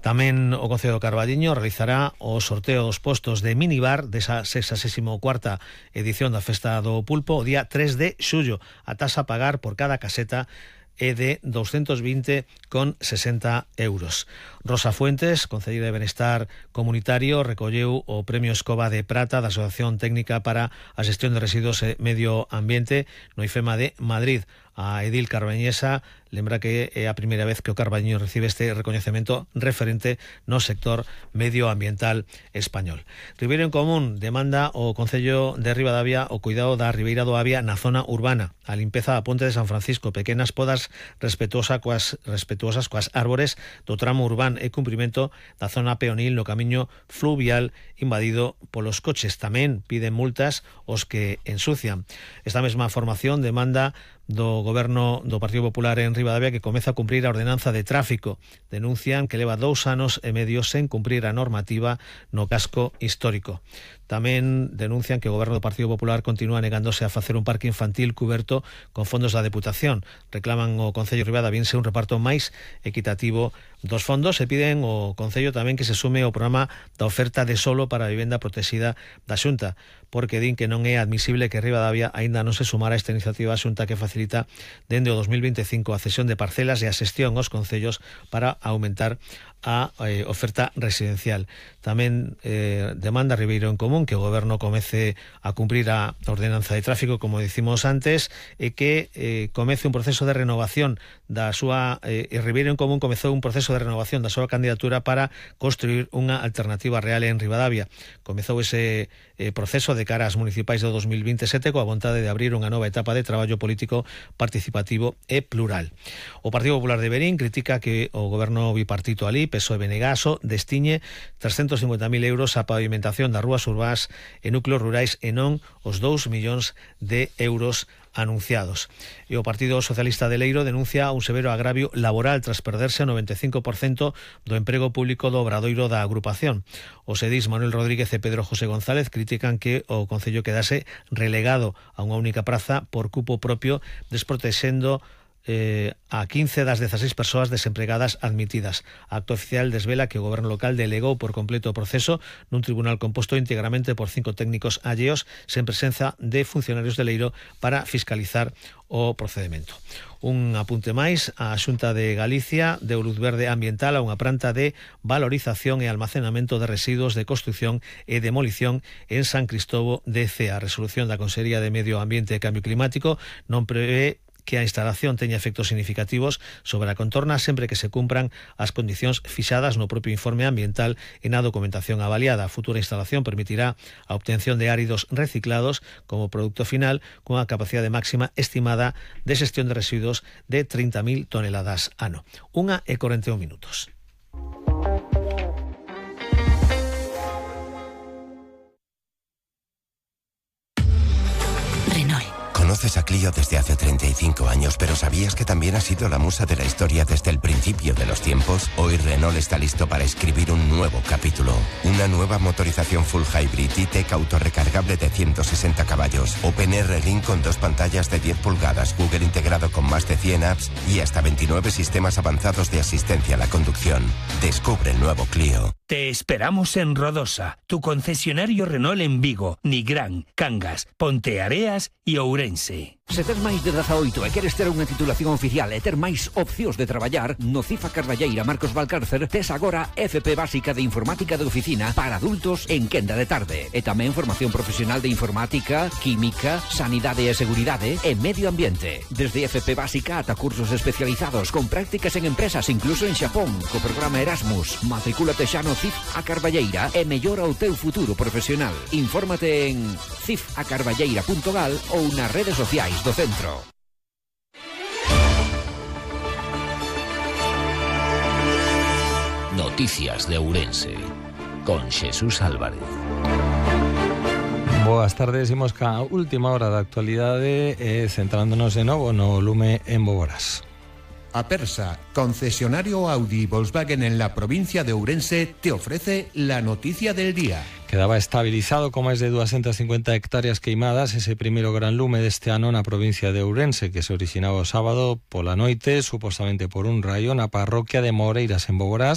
Tamén o Concello do Carballiño realizará o sorteo dos postos de minibar desa 64ª edición da Festa do Pulpo o día 3 de xullo. A taxa a pagar por cada caseta é de 220,60 euros. Rosa Fuentes, concelleira de Benestar Comunitario, recolleu o Premio Escoba de Prata da Asociación Técnica para a Xestión de Residuos e Medio Ambiente no IFEMA de Madrid. A edil carbañesa lembra que é a primeira vez que o Carballiño recibe este recoñecemento referente no sector medioambiental español. Ribeiro en Común demanda o Concello de Ribadavia o cuidado da Ribeira do Avia na zona urbana, a limpeza da Ponte de San Francisco, pequenas podas respetuosas coas árbores do tramo urbano e cumprimento da zona peonil no camiño fluvial invadido polos coches. Tamén piden multas os que ensucian. Esta mesma formación demanda do Goberno do Partido Popular en Ribadavia que comeza a cumprir a ordenanza de tráfico. Denuncian que leva 2 anos e medio sen cumprir a normativa no casco histórico. Tamén denuncian que o Goberno do Partido Popular continúa negándose a facer un parque infantil cuberto con fondos da Deputación. Reclaman o Concello de Ribadaviense un reparto máis equitativo dos fondos e piden o Concello tamén que se sume ao programa da oferta de solo para a vivenda protexida da Xunta, porque din que non é admisible que Ribadavia aínda non se sumara a esta iniciativa da Xunta que facilita dende o 2025 a cesión de parcelas e a xestión aos concellos para aumentar a oferta residencial. Tamén demanda Ribeiro en Común que o Goberno comece a cumprir a ordenanza de tráfico, como dicimos antes, e que comece un proceso de renovación da súa Ribeiro en Común comezou un proceso de renovación da súa candidatura para construir unha alternativa real en Ribadavia. Comezou ese proceso de cara ás municipais do 2027 coa vontade de abrir unha nova etapa de traballo político participativo e plural. O Partido Popular de Verín critica que o goberno bipartito alí, PSOE e Benegaso, destiñe 350.000 euros a pavimentación das rúas urbás e núcleos rurais e non os 2 millóns de euros anunciados. E o Partido Socialista de Leiro denuncia un severo agravio laboral tras perderse o 95% do emprego público do obradoiro da agrupación. Os edís Manuel Rodríguez e Pedro José González critican que o Concello quedase relegado a unha única praza por cupo propio, desprotexendo a 15 das 16 persoas desempregadas admitidas. A acto oficial desvela que o goberno local delegou por completo o proceso nun tribunal composto íntegramente por 5 técnicos alleos sen presenza de funcionarios de Leiro para fiscalizar o procedimento. Un apunte máis, a Xunta de Galicia deu luz verde ambiental a unha planta de valorización e almacenamento de residuos de construción e demolición en San Cristovo de Cea. A resolución da Consellería de Medio Ambiente e Cambio Climático non prevé que a instalación teña efectos significativos sobre a contorna sempre que se cumpran as condicións fixadas no propio informe ambiental e na documentación avaliada. A futura instalación permitirá a obtención de áridos reciclados como produto final cunha capacidade máxima estimada de xestión de residuos de 30.000 toneladas ano. 1:41 minutos. Conoces a Clio desde hace 35 años, pero ¿sabías que también ha sido la musa de la historia desde el principio de los tiempos? Hoy Renault está listo para escribir un nuevo capítulo. Una nueva motorización full hybrid E-Tech autorrecargable de 160 caballos. OpenR Link con 2 pantallas de 10 pulgadas, Google integrado con más de 100 apps y hasta 29 sistemas avanzados de asistencia a la conducción. Descubre el nuevo Clio. Te esperamos en Rodosa, tu concesionario Renault en Vigo, Nigrán, Cangas, Ponteareas e Ourense. Se tes máis de 18 e queres ter unha titulación oficial e ter máis opcións de traballar, no CIF A Carballeira Marcos Valcárcer tes agora FP básica de informática de oficina para adultos en quenda de tarde. E tamén formación profesional de informática, química, sanidade e seguridade e medio ambiente. Desde FP básica ata cursos especializados con prácticas en empresas incluso en Xapón, co programa Erasmus. Matricúlate xa no CIF A Carballeira e mellora o teu futuro profesional. Infórmate en cifacarballeira.gal ou nas redes sociais do centro. Noticias de Ourense con Xesús Álvarez. Boas tardes, imos ca última hora da actualidade centrándonos de novo no lume en Boborás. Apersa, concesionario Audi y Volkswagen en la provincia de Ourense, te ofrece la noticia del día. Quedaba estabilizado con máis de 250 hectáreas queimadas ese primeiro gran lume deste ano na provincia de Ourense, que se originaba o sábado pola noite, supostamente por un raio, na parroquia de Moreiras en Boborás,